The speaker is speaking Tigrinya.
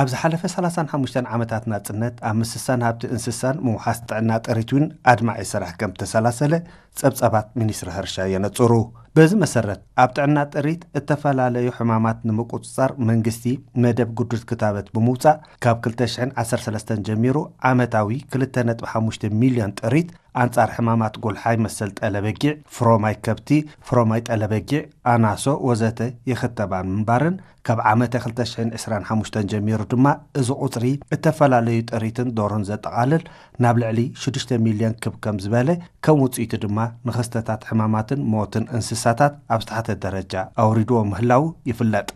ኣብ ዝሓለፈ ሰላሳን ሓሙሽተን ዓመታት ናጽነት ኣብ ምስሳን ሃብቲ እንስሳን ምውሓስ ጥዕና ጥሪት እውን ኣድማዒ ስራሕ ከም ተሰላሰለ ጸብጻባት ሚኒስትሪ ሕርሻ የነጽሩ። በዚ መሰረት ኣብ ጥዕና ጥሪት እተፈላለዩ ሕማማት ንምቁጽጻር መንግስቲ መደብ ግዱድ ክታበት ብምውጻእ ካብ ክልተ ሽሕን ዓሰርተ ሰለስተን ጀሚሩ ዓመታዊ ክልተ ነጥቢ ሓሙሽተ ሚልዮን ጥሪት ኣንጻር ሕማማት ጎልሓይ መሰል ጠለበጊዕ፣ ፍሮማይ ከብቲ፣ ፍሮማይ ጠለበጊዕ፣ ኣናሶ ወዘተ ይኽተባ ምንባርን ካብ ዓመተ ክልተ ሽሕን ዕስራን ሓሙሽተን ጀሚሩ ድማ እዚ ቁጽሪ እተፈላለዩ ጥሪትን ዶሮን ዘጠቓልል ናብ ልዕሊ ሽዱሽተ ሚልዮን ክብ ከም ዝበለ፣ ከም ውጽኢቱ ድማ ንኽስተታት ሕማማትን ሞትን እንስሳታት ኣብ ዝተሓተ ደረጃ ኣውሪድዎ ምህላው ይፍለጥ።